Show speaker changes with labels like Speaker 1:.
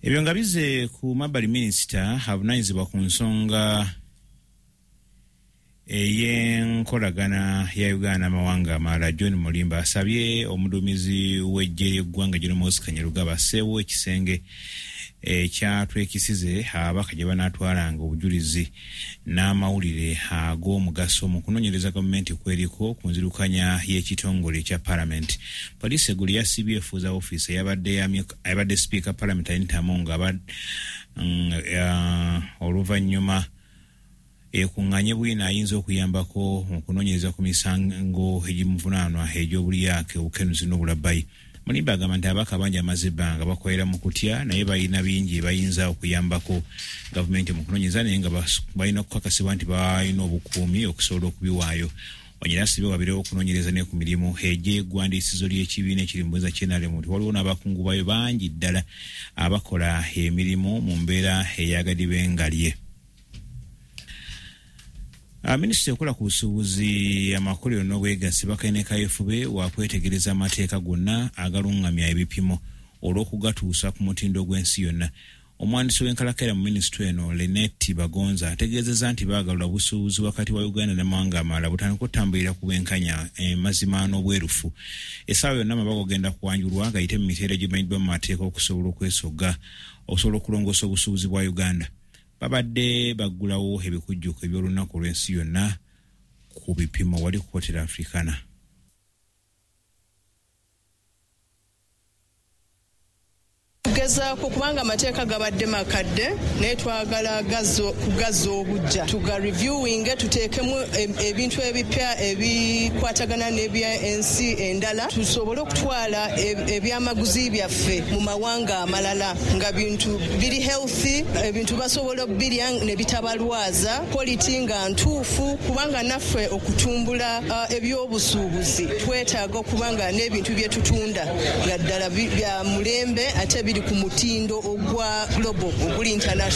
Speaker 1: Ebyo nga bizze ku mabbali, minisita avunaanyizibwa ku nsonga ey'enkolagana ya Uganda n'amawanga amalala, John Mulimba, asabye omuduumizi w'eggye ly'eggwanga General Muhoozi Kainerugaba asseewo ekisenge ekyatwekisize ababaka gye banaatwalanga obujulizi n'amawulire ag'omugaso mu kunoonyereza gavumenti kweriko ku nzirukanya y'ekitongole ekya Palamenti. Poliisi eggulo yasibye efuuza ofiisi eyabadde sipiika Palamenti Anita Among oluvannyuma ekuŋŋaanye bwino ayinza okuyambako mu kunoonyereza ku misango egimuvunaanwa egy'obulyake, obukenuzi n'obulabbayi. Mulimba agamba nti ababaka bangi amaze ebbanga bakolera mu kutya, naye balina bingi bayinza okuyambako gavumenti mu kunoonyereza, naye nga balina okukakasibwa nti balina obukuumi okusobola okubiwaayo. Onyera asibye wabirewo okunoonyereza ne ku mirimu egy'eggwandiisizo ly'ekibiina ekiri mu buyinza ky'NRM, nti waliwo n'abakungu bayo bangi ddala abakola emirimu mu mbeera ey'agadibengalye. Minisita ekola ku busuubuzi, amakolero n'obwegassi Bakayine Kayefube wakwetegereza amateeka gonna agalungamya ebipimo olw'okugatuusa ku mutindo gw'ensi yonna. Omuwandiisi w'enkalakkalira mu minisitule eno, Leneti Bagonza, ategeezezza nti baagalula obusuubuzi wakati wa Uganda n'amawanga amalala butandika okutambulira ku bwenkanya, mazima n'obwerufu. Essaawa yonna amabago genda kuwanjulwa gayite mu mitendera egimanyiddwa mu mateeka okusobola okwesogga okusobola okulongoosa obusuubuzi bwa Uganda. Babadde baggulawo ebikujjuko eby'olunaku olw'ensi yonna ku bipimo wali ku Hotel Africana.
Speaker 2: Tugezaako kubanga amateeka gabadde makadde, naye twagala kugazza obujja, tuga reviewing, tuteekemu ebintu ebipya ebikwatagana n'ebyensi endala, tusobole okutwala ebyamaguzi byaffe mu mawanga amalala nga bintu biri healthy, ebintu basobola okubirya ne bitabalwaza, quality nga ntuufu, kubanga naffe okutumbula ebyobusuubuzi twetaaga okuba nga n'ebintu bye tutunda nga ddala bya mulembe ate biri ku mutindo ogwa global, oguli international.